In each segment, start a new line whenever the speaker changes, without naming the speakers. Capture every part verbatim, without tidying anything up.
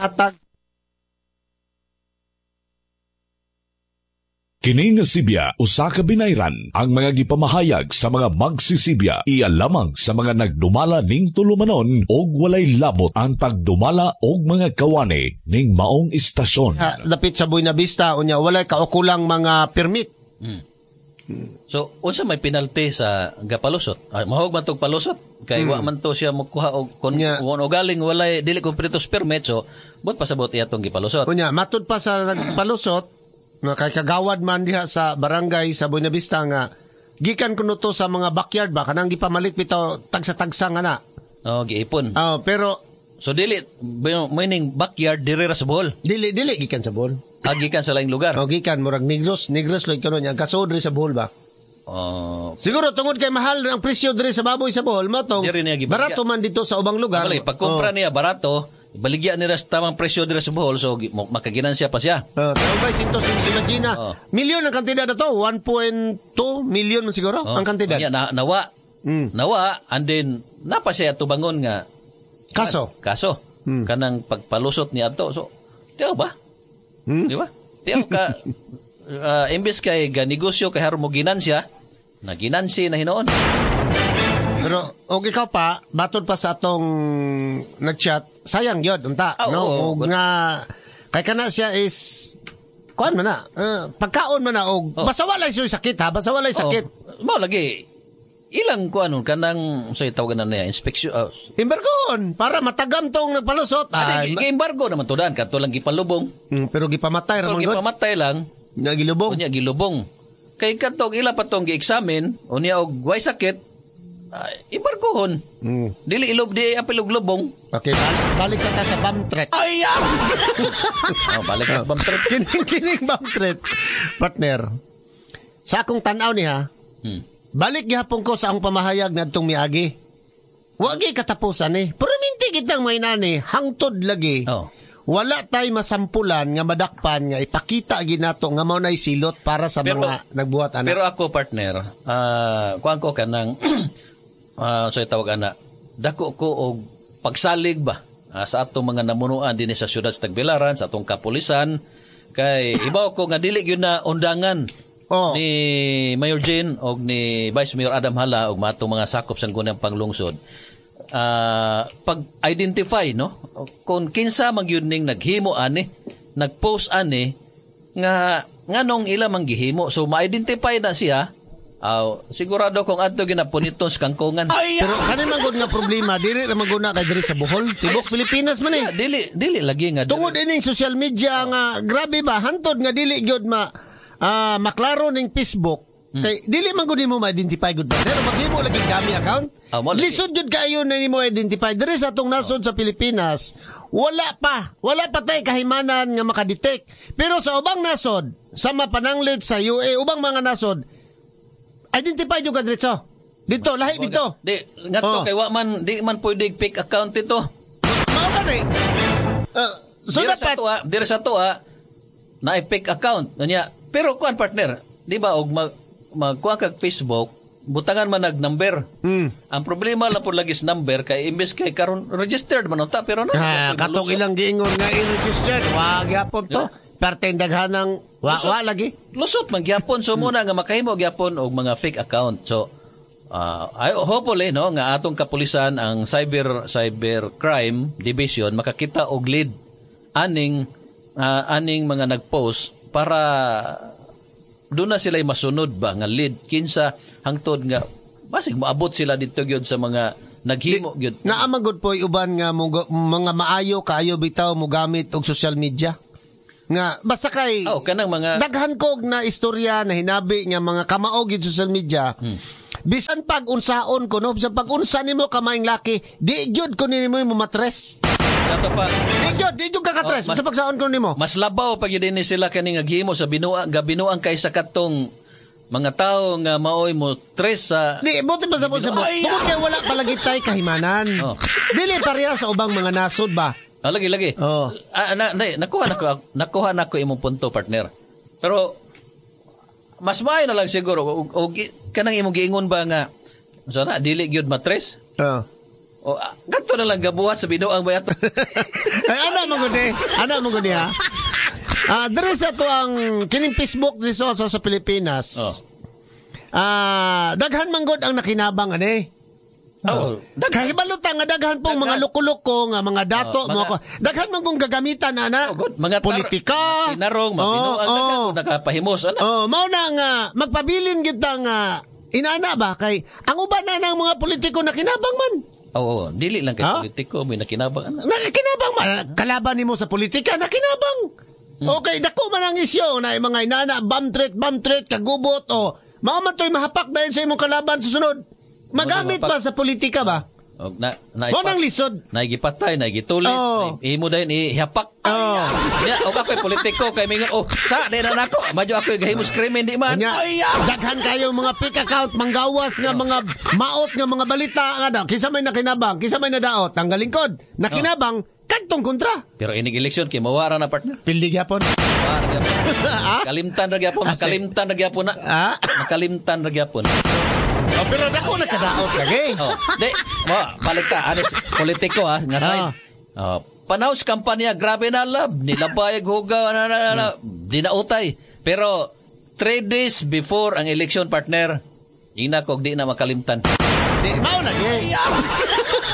Hatag
Kini nga Sibya usa ka binayran ang mga gipamahayag sa mga magsisibya iya lamang sa mga nagdumala ning tulumanon og walay labot ang tagdumala og mga kawani ning maong istasyon.
Ha, lapit sa Buena Vista unya walay kaukulang mga permit.
Hmm. So unsa may penalty sa gapalusot? Ay, mahog man tog palusot kay hmm. wa man to siya mokuha og kon
Nya.
o galing walay dili kumpleto permit, so but pasabot iya tong gipalusot.
Unya matud pa sa nagpalusot na kay kagawad man diha sa barangay sa Buena Vista nga gikan kuno to sa mga backyard ba kanang gipamalit bitaw tagsa-tagsa nga na.
Oh, giipon.
Oh, pero
so dili meaning backyard diri ra sa Bohol.
Dili dili gikan sa Bohol.
Ah, gikan sa laing lugar.
Oh, gikan murag Negros, Negros lay kuno niya kasod diri sa Bohol ba.
Oh.
Siguro tungod kay mahal ang presyo diri sa baboy sa Bohol mo tong barato man dito sa ubang lugar.
Bali, pagkumpra oh. niya barato, baligya nila sa tamang presyo dira sa Bohol, so makaginansya pa siya.
Uh, ba, sinto, imagine, oh. Milyon ang kantidad na to, one point two million man siguro
oh.
ang kantidad.
Unya, na, nawa, mm. nawa, and then, napa siya tubangon nga,
kaso,
kaso, mm. kanang pagpalusot niya ato. So, tiyaw ba?
Hmm?
Di ba? Tiyaw ka, uh, imbes kay ganegosyo, kay haron mo ginansya, naginansi na hinoon.
Pero, og ikaw pa, batod pa sa atong nag-chat, sayang yun, unta.
Oh,
no?
Oh,
og nga, kay kana siya is, kuan man na, uh, pagkaon man na, og,
oh.
basta walay siya sakit ha, basta walay sakit.
Oh. Mao lagi, ilang kuan nun, kanang, say, tawagan na niya, inspection. Uh,
Embargoon, para matagam tong nagpalusot.
Ay, gi-embargo naman to daan, kato lang gipalubong.
Mm, pero gipamatay,
pero gipamatay lang.
Nga gilubong.
Unya, gilubong. Kay katong ila pa tong gi-examine, unya og way sakit, Uh, embargohon.
Mm.
Dili ilob di apil og lubong.
Okay, balik, balik sa ta sa bomb threat.
Ay! Oh, balik sa bomb threat.
Kining kining bomb threat. Partner. Sa akong tan-aw niya,
hmm.
balik gihapon ko sa akong pamahayag ngadtong miagi. Wa gyud katapusan eh. Pero minti kitang may nani, hangtod lagi.
Oh.
Wala tay masampulan nga madakpan nga ipakita ginato nga mao nay silot para sa
pero,
mga nagbuhat ana.
Pero ako partner, uh, kuan ko kanang Uh, so tawag ana, dako ko og pagsalig ba uh, sa atong mga namunuan dinhi sa siyudad sa Tagbilaran, sa atong kapulisan, kay ibaw ko nga dili gyud na undangan
oh.
ni Mayor Jane og ni Vice Mayor Adam Hala og matong mga sakop sa Sangguniang Panglungsod. Uh, pag-identify no kung kinsa man gyud ning naghimo ani, nagpost ani nga nganong ila man gihimo, so ma-identify na siya. Aw, sigurado kung adto ginapuniton sa kangkungan.
Ay, pero kani man gud nga problema, dili ra man gud na kay diri sa Bohol, tibok Pilipinas man eh.
Yeah, dili dili lagi nga
tungod ining social media oh. nga grabe ba hantod nga dili gyud ma uh, maklaro ning Facebook.
Hmm.
Kay dili man gud nimo ma-identify gud ba. Pero maghimo lagi dami account.
Oh, mo, lagi.
Lisod jud kaayo na nimo identify diri sa atong nasod oh. sa Pilipinas. Wala pa, wala pa tay kahimanan nga makadetect. Pero sa ubang nasod, sa mapananglit sa U A, ubang mga nasod, identify yung kadretso. Dito, lahi dito.
Di, ngadto
oh.
kay wa man, di man pwede fake account dito.
Mao ka na eh. Uh, so
dira
dapat,
sa tuwa, dira sa tuwa, na fake account. Unya, pero kuan partner, di ba og mag magkuha kag Facebook, butangan man nag number.
Hmm.
Ang problema lang po lagi sa number kay imbes kay karon registered man unta pero na.
Ah, katong ilang giingon nga i-registered, wa gyapon to.
Yeah.
Parte daghanang wa
lusot,
wa lagi.
Lusot man gyapon so muna nga makahimo gyapon og mga fake account. So uh, I hopefully no nga atong kapulisan ang cyber cyber crime division makakita og lead aning uh, aning mga nagpost para doon na sila masunod ba nga lead kinsa hangtod nga basig moabot sila didto gyud sa mga naghimo gyud.
Naa man gud poy uban nga mong, mga maayo kaayo bitaw mogamit og social media. Nga basta kay
oh, kanang mga
daghan kog na istorya na hinabi nga mga kamaog gyud social media.
Hmm.
Bisan pag unsaon ko no, bisan pag unsa nimo kamaing laki, di gyud ko nimo mo matres.
Kato pa.
Di gyud, di gyud kakatres.
Oh,
Bisan pagsaon ko nimo.
Mas labaw pag yun ni sila kani nga gihimo sa binuang gabinuang kaysa katong mga tao nga maoy mo tres sa
di buti pa sa sa tungod kay wala palagi tay kahimanan.
Oh.
Dili pareha sa ubang mga nasod ba.
Ah, lagi lagi.
Oh.
Ah, na, na, nakuha nako nakuha nako imong punto partner. Pero mas maayo na lang siguro o, o kanang imong giingon ba nga so na dili gyud matres?
Oh.
O ah, kadto na lang gabuhat sa binuang ba ato.
Ay, ana man gud eh. Ana man gud eh, ha. Ah, diri sa to ang kining Facebook diri sa sa Pilipinas.
Oh.
Ah, daghan man gud ang nakinabang ani.
Oh,
Daghan kahibalo ta nga daghan pong mga loko-loko nga mga dato
Oh, mga-
mo ako. Daghan man kung gagamitan ana.
Oh, good. Mga tar-
politika,
mga tinarong, mga binuang,
Oh,
daghan
oh.
kung nakapahimos ana.
Oh, mao na nga magpabilin gyud ta nga inana ba kay ang uban na ng mga politiko nakinabang man.
Oo, oh, dili lang kay
Ha?
politiko may nakinabang ana.
Nakinabang man kalaban nimo sa politika nakinabang.
Hmm.
Okay, dako man ang isyo na yung mga inana bomb threat, bomb threat, kagubot o mao man to'y mahapak dahil sa imong kalaban sa sunod. Magamit
Mahapak.
ba sa politika ba?
Og na na
Mao nang lisod.
Naigipatay, naigitulis,
Oh.
oh. imo dayon ihapak.
Oh.
Nya, og ako'y politiko kay mingon, oh, sa di na nako. Madyo ako'y gahimos krimen di man.
Nya, daghan kayo mga fake account, manggawas nga mga maot nga mga balita nga daw. Kinsa may nakinabang, kinsa may nadaot, ang galingkod. Nakinabang kadtong kontra.
Pero inig eleksyon kay mawara na partner.
Pildi gyapon.
Mawara gyapon.
Ah?
Kalimtan ra gyapon,
Ah, sige.
makalimtan ra gyapon na.
Ah?
Makalimtan ra gyapon.
Oh, pero dako nakadaot lagi.
Oh, di, mo balik ta anis politiko ha, nga side.
Ah.
Oh, panaw sa kampanya, grabe na love, nilabay hugaw na na na, na di na utay. Pero three days before ang election partner, ina ko di na makalimtan.
Di, mao lagi.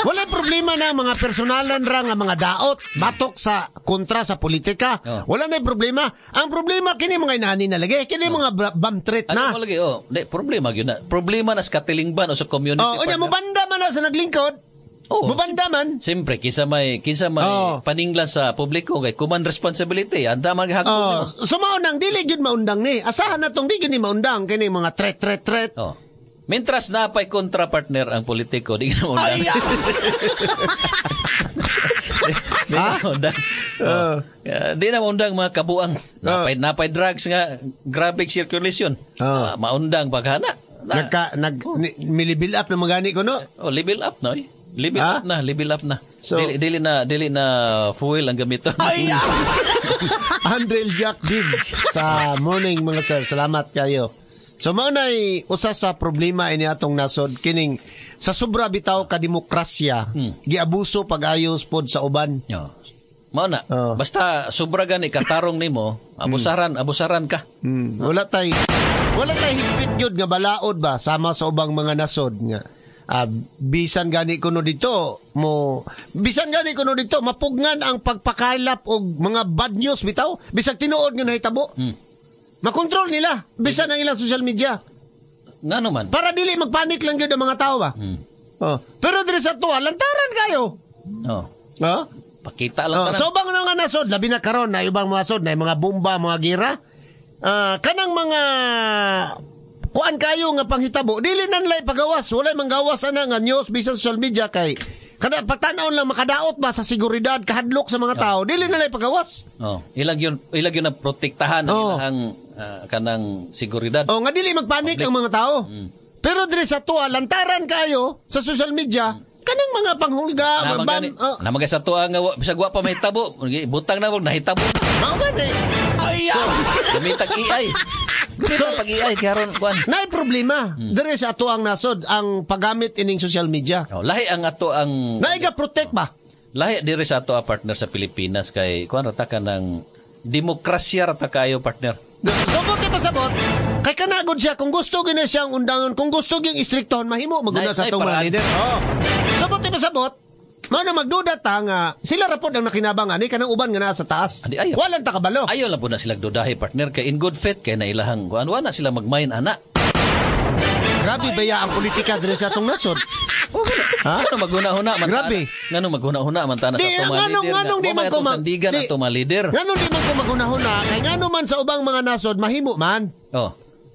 Wala problema na mga personalan ra nga mga daot batok sa kontra sa politika.
Oh.
Wala na problema. Ang problema kini mga inani na lagi, kini mga bra- bomb threat
Ano
na.
mo lagi? Oh, di problema gyud na. Problema na sa katilingban o sa community.
Oh, unya
partner.
mubanda man na sa naglingkod.
Oo.
Mubanda man.
Siyempre, kinsa may kinsa may
Oh.
paninglan sa publiko kay kuman responsibility, anda man gihagpon
Oh,
nimo.
so mao nang dili gyud maundang ni. Asahan na tong di gyud ni maundang kini mga threat threat threat.
Oh. Mentras na pa'y kontra partner ang politiko, di na maundang. di, di na maundang. Oh. Yeah, di na maundang mga kabuang. Napay, napay drugs nga, graphic circulation.
Oh.
Ah, maundang paghana. Na,
Nagka nag ni, milibuild up na magani ko no.
oh, level up na oy. Level
Ha?
up na, level up na.
So-
dili, dili na dili na fuel ang gamiton.
Andrel Jack Diggs sa morning mga sir. Salamat kayo. So mao nay usa sa problema ini atong nasod kining sa sobra bitaw ka demokrasya
Hmm.
giabuso pag-ayos pod sa uban.
Yo. Mao na.
Oh.
Basta sobra gani katarong nimo, abusaran, abusaran ka.
Hmm. Wala tay wala tay higpit gyud nga balaod ba sama sa ubang mga nasod nga ah, bisan gani kuno dito mo bisan gani kuno dito mapugnan ang pagpakaylap og mga bad news bitaw bisag tinuod nga nahitabo.
Hmm.
Makontrol nila bisan ang ilang social media.
Ngano man?
Para dili magpanik lang gyud ang mga tao ba.
Hmm.
Oh. Pero diri sa tuwa lantaran kayo.
Oh.
Oh?
Pakita lang
Oh,
tanan.
so ubang nga nasod labi na karon na ubang mga sod na mga bomba, mga gira. Ah, kanang mga kuan kayo nga panghitabo, dili na nila ipagawas, walay manggawas ana nga news bisan social media kay kada pagtan-aw lang makadaot ba sa seguridad kahadlok sa mga tao, dili na nila ipagawas.
Oh, ilang yun ilang yun ang protektahan ang
Oh.
ilang ah, kanang seguridad.
Oh, nga dili magpanik ang mga tao.
Mm.
Pero diri sa tuwa lantaran kayo sa social media, kanang mga panghulga,
Naman
bam,
gani.
oh,
Naman sa tuwa nga wa- bisag wa pa mahitabo, butang na wag nahitabo. na.
mao gani.
Gamitag A I. Gamitag
So-
pag A I kay aron kuan.
Naay problema
Mm.
diri sa ato ang nasod ang paggamit ining social media.
Oh, lahi ang ato ang
Naay ga protect ba?
lahi diri sa ato ang partner sa Pilipinas kay kuan ra ta ka ng demokrasya ra ta kayo partner.
Sobot kay pasabot, kay kanagod siya kung gusto gyud na siyang undangon, kung gusto gyud istriktohon mahimo maguna
Nay-
sa
nay
atong mga
paraan.
leader. Oh. Sobot kay pasabot, mao na magduda ta nga sila ra pod ang nakinabang ani kanang uban nga naa sa taas.
Adi, ayaw.
Walang ta kabalo.
Ayaw lang po na sila dudahi partner kay in good faith kay na ilahang kuan wa na sila magmain ana.
Grabe baya ang politika diri sa atong nasod. Ha?
Ngano maghuna-huna man
Grabe.
Ngano maghuna-huna man ta na sa
Di,
atong mga
nganong
leader.
nganong di man ko
mag sandigan
di-
ato mga leader.
Nganong di man ko maghunahuna kay ngano man sa ubang mga nasod mahimo man.
Oh.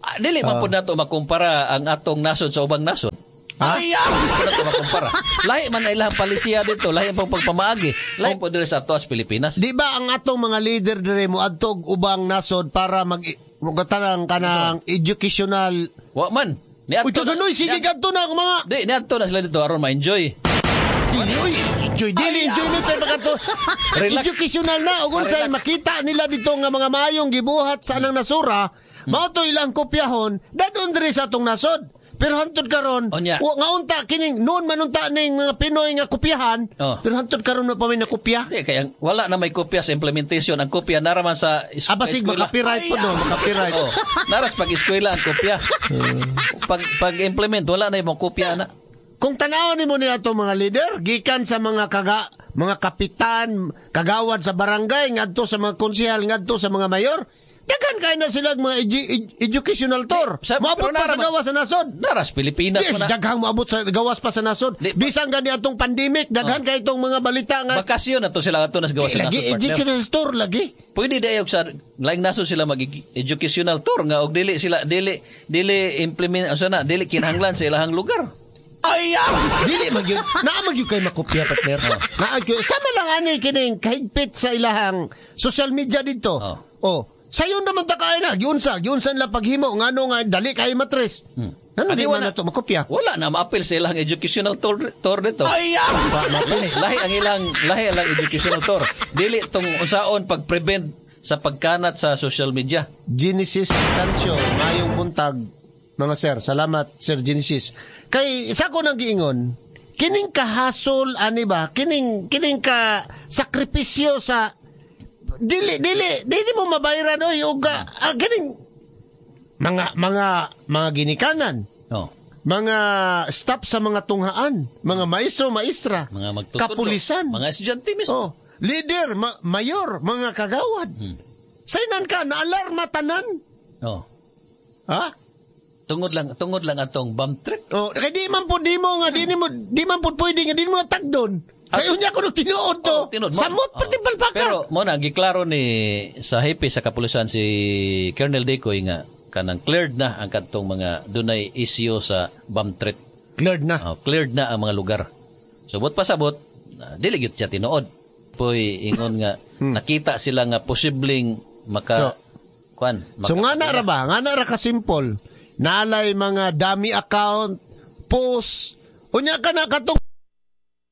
Ah, dili man pud nato makumpara ang atong nasod sa ubang nasod.
Ha?
Dili man nato makumpara. Lahi man na ilang palisiya dito, lahi pang pagpamaagi. Lahi po diri sa ato sa Pilipinas.
Di ba ang atong mga leader dire mo adtog ubang nasod para mag magkatanang kanang educational
Wa man. Ni
Uy, kaganoy, sige kadto na ang mga
Di, niadto na sila dito aron ma-enjoy.
Dili, uy, enjoy, dili, enjoy nito pagkato.
Relax.
Educational na, ug unsay makita nila dito nga mga mayong gibuhat sa anang nasura, mao to ilang kopyahon, dadon diri sa atong nasod. Pero hantod karon,
Unya.
wa nga unta kining noon man unta ning mga Pinoy nga kopyahan,
Oh.
pero hantod karon na pa may nakopya.
Di, kaya wala na may kopya sa implementation. Ang kopya naraman sa is-
Ah, basig
eskwela.
makapiright po no, makapiright.
Oh, naras pag eskwela ang kopya. pag pag implement wala na imong kopya na.
Kung tanawon nimo ni ato mga leader, gikan sa mga kaga, mga kapitan, kagawad sa barangay, ngadto sa mga konsehal, ngadto sa mga mayor, daghan kay na sila mga edu- ed- educational tour.
Sa-
Moabot
pero
pa sa
nasa-
gawas sa nasod.
Naras Pilipinas
Di,
mo na.
daghang moabot sa gawas pa sa nasod.
Di-
Bisan gani atong pandemic, daghan kay itong mga balita nga
Bakasyon na to sila ato nas gawas sa
lagi
nasod partner.
educational tour lagi.
Pwede dayo sa laing nasod sila mag educational tour nga og dili sila dili dili implement unsa na dili kinahanglan sa ilahang lugar.
Dili man gyud. Naa man gyud kay makopya partner. Naa gyud. Sama lang ani kining kahigpit sa ilahang social media dito.
Oh.
Oh. Sayon naman ta kay na giunsa, giunsa nila paghimo ngano nga dali kay matres. Ano
Adi,
di man
wala-
na to makopya?
Wala na maapil sa ilang educational tour, tour dito. Lahi, lahi ang ilang lahi ang ilang educational tour. Dili tong unsaon pag-prevent sa pagkanat sa social media.
Genesis Estancio, mayong buntag mga sir. Salamat Sir Genesis. Kay sa ko nang giingon, kining kahasol ani ba? Kining kining ka sakripisyo sa dili dili dili mo mabayaran oy og ah, ah, kining mga mga mga ginikanan,
Oh,
mga staff sa mga tunghaan, mga maestro, maestra,
mga magtutudlo,
kapulisan,
mga estudyante mismo.
Oh, leader, ma- mayor, mga kagawad.
Hmm.
Saynan ka, naalarma tanan.
Oh.
Ha?
Tungod lang tungod lang atong bomb threat.
Oh, kay di man po di mo nga di mo di man po pwede nga di mo tagdon. Kay unya ko nung tinuod to.
Oh, tinuod mo.
Samot
Oh.
pati palpaka.
Pero mo na giklaro ni sa hepe sa kapulisan si Colonel Decoy nga kanang cleared na ang kadtong mga dunay issue sa bomb threat.
Cleared na.
Oh, cleared na ang mga lugar. So but pasabot, uh, dili gyud siya tinuod. Poy ingon nga nakita sila nga posibleng maka
Hmm. So-
kuan maka,
So nga na ra ba? Nga na ra ka simple. Naalay mga dummy account, post. Unya ka na katong